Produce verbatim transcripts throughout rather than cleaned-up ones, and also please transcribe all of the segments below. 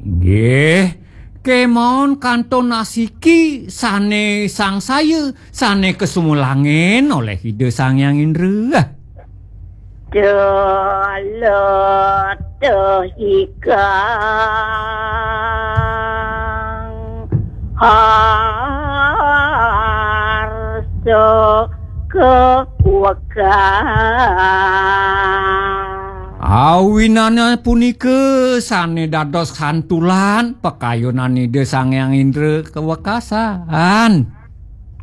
Nggih, kemawon kantun asiki sane sangsaya, sane kasumulangin oleh Ida Sang Hyang Indra. Dalah ikang harsa kewekang. Awinana punika sane dados santulan pakayunan Ida Sang Hyang Indra kawekasan.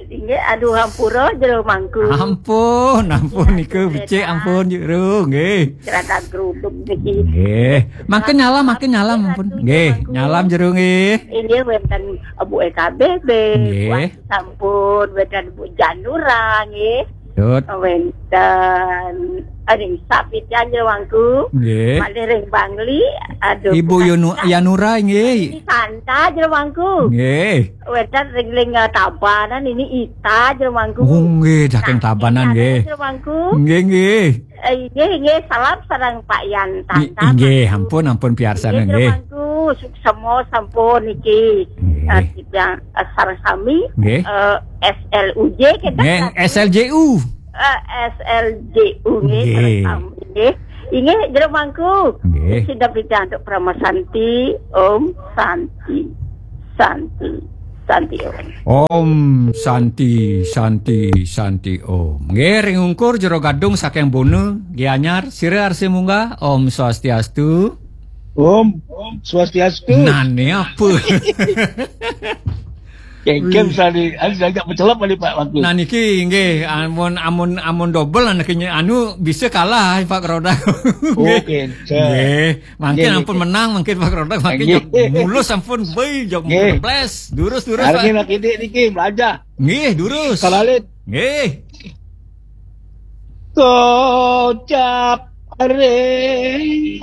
Inggih, aduh, ampura, Jero Mangku. Ampun, ampun, nika becik, ampun, Jero, nggih. Gerada geruduk niki. Nggih. Mangke nyalam, mangke nyalam, ampun. Nggih, nyalam, Jero, nggih. Inggih, wenten Bu E K B B, nggih. Sampun, wenten Bu Janura, nggih. Dut. Wenten ring Sapitan, Jero Mangku. Nggih. Malih ring Bangli, aduh, Ibu Yunu-, Yanura, nggih. Santa, Jero Mangku. Nggih. Wenten ring, ring, eh, Tabanan, ini Ita, Jero Mangku. Oh, nggih, saking Tabanan, nggih. Jero Mangku. Nggih, nggih. Eh, inggih, inggih, salam sareng Pak Yan Tanta, inggih, Mangku. Ampun, ampun, piarsana, nggih, Jero Mangku, suksema sampun niki. Nggih. Eh, titiang, eh, sareng sami, nggih. Eh, S L U J, kita nggih, kan? S L J U. Eh, S L J U, nggih, nggih. Sareng sami, nggih. Inggih, Jero Mangku. Nggih. Sida picantuk Parama Santi, Om Santi. Santi. Santi, Om. Om Santi, Santi, Santi, Om. Nggih, ring ungkur Jero Gadung saking Bona, Gianyar, sira arsi munggah. Om Swastiastu. Om, Om Swastiastu. Nane apa? Kengkem sani, anu agak mencelep kali, Pak, waktu. Nah, niki nggih, amun, amun, amun double anake anu bisa kalah, Pak Roda. Nggih. Oke, so. Nggih. Mangkin, nggih, ampun, nggih, menang, mangkin Pak Roda, mangkin, nggih, jog mulus ampun, boy, jog, nggih, mulus. Durus, durus, hari Pak. Niki lagi dik niki, belajar. Nggih, durus. Kalalit. Nggih. Kocap ring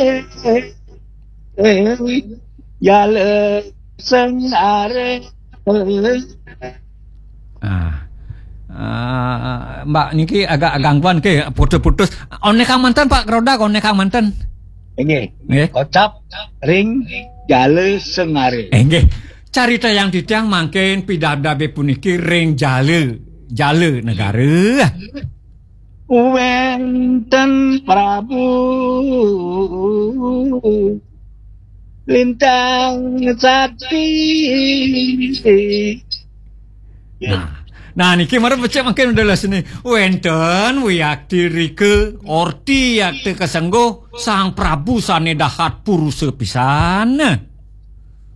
jala sengare. Ah. Ah, Mbak niki agak gangguan ke, putus-putus. One kang manten, Pak Roda, one kang manten. Nggih. Nggih. Kocap ring jala sengare. Eh, nggih. Carita yang titiang mangkin pidabdabe puniki ring jala, jala negara. Wenten Prabu Lintang Sakti. Nah, nah, niki mara becik mangkin udah les ni. Wenten wiakti rika, orti yakti kasengguh, Sang Prabu sane dahat purusa pisan.